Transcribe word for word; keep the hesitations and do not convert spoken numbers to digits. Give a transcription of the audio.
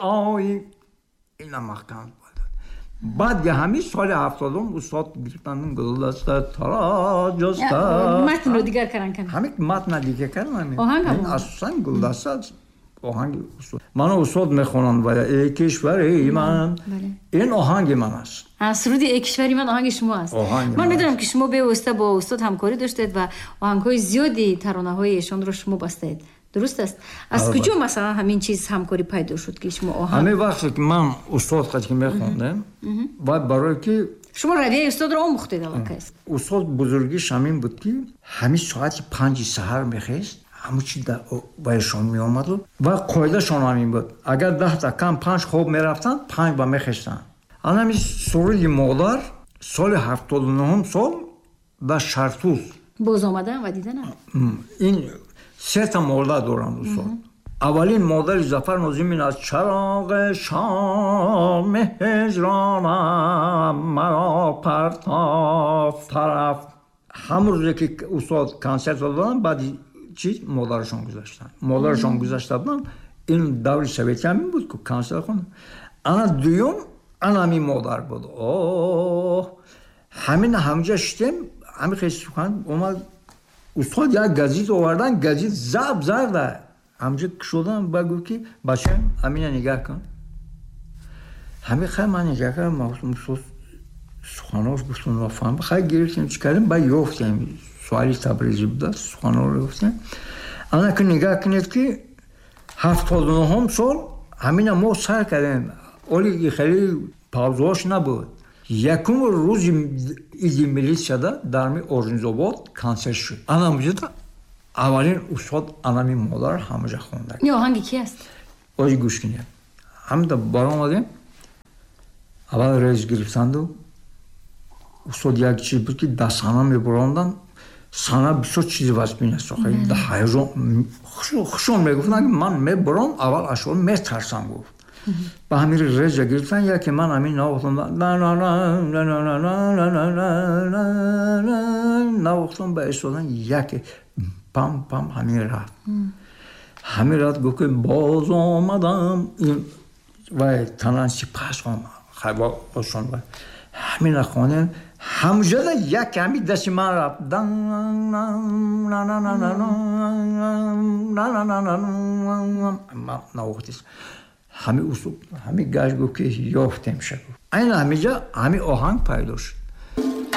Ой, ина маҳкам. Баъд ҳамин соли ҳафтодум устод гирифтан гулдаста тароҷаста. Матнро дигар кардан кам. Ҳамин матна дигар кардан. Оҳанг ҳамон. Асосан гулдаста оҳанги устод. Мана устод мехонанд ва эй кишвари ман. Ин оҳанги ман аст. Суруди эй кишвари ман оҳанги шумо аст. Ман медонам ки шумо бевосита бо устод ҳамкорӣ доштед ва оҳангҳои зиёди таронаҳои эшонро шумо бастаед. Дуруст аст? Аз куҷо масалан ҳамин чиз ҳамкорӣ пайдо шуд ки шумо оҳанг? Ҳамин вақте ки ман устод қад ки мехондем, баъд барое ки шумо равияи устодро омӯхтед аллакай. Устод бузургиш ҳамин буд ки ҳамин соати панҷи саҳар мехест, ҳамун чи вайшон меомаду ва қоидашон ҳамин буд. Агар даҳта кам панҷ хоб мерафтанд, панҷ ба мехестанд. Ана ҳамин суруди модар соли ҳафтоду нуҳум сол дар Шартуз боз омадан ва диданам. Ин сета модар доранд устод. Аввалин модари Зафар Нозимин аз чароғи шоми ҳиҷронам маро партоф тараф. Ҳамон рӯзе ки устод консерт доданд, баъди чиз модарашон гузаштанд. Модарашон гузашта буданд. Ин даври советӣ ҳамин буд ки консерт хонд. Ана дуюм ана ҳамин модар буд. Оҳ, ҳамин ҳамҷа шитем, ҳамин хел сухан омад. Устод як газет овардан, газет заб зарда. Ҳамҷа кушодан ба гуфт ки бачаам ҳамина нигаҳ кун. Ҳамин хай ман нигаҳ кардам, устод суханош гуфтум нафаҳм. Хай гирифтем, чӣ кардем, ба ёфтем. Суали Табризӣ буда, суханҳоро ёфтем. Ана ки нигаҳ кунед ки ҳафтоду нуҳум сол ҳамина мо сар кардем. Оли хеле паузаош набуд. Якум рӯзи иди милитсияда дар ми Оринзобод консерт шуд. Ана муҷода аввалин устод анами модар ҳамаҷа хонда. Ин оҳанги ки аст? Ози гӯш кунед. Ҳамда баромадем. Аввал рез гирифтанду устод як чиз буд ки дар саҳна мебаромаданд. Саҳна бисёр чизи вазмин аст. Ҳаяҷон хушон мегуфтанд ки ман мебаром, аввал ашъор метарсам гуфт. Ба ҳамин реза гирифтан, яке ман ҳамин навохтам, навохтам, ба истодан яке пам пам ҳамин рафт. Ҳамин рафт гуфт ки боз омадам. Вай танан сипас омад. Хайбошон вай. Ҳамина хонем. Ҳамҷода як ҳамин дасти ман рафт. Ман навохтист. Ҳамин усул, ҳамин гашт гуфт ки ёфтем ша гуфт. Айна ҳаминҷа ҳамин оҳанг пайдо шуд.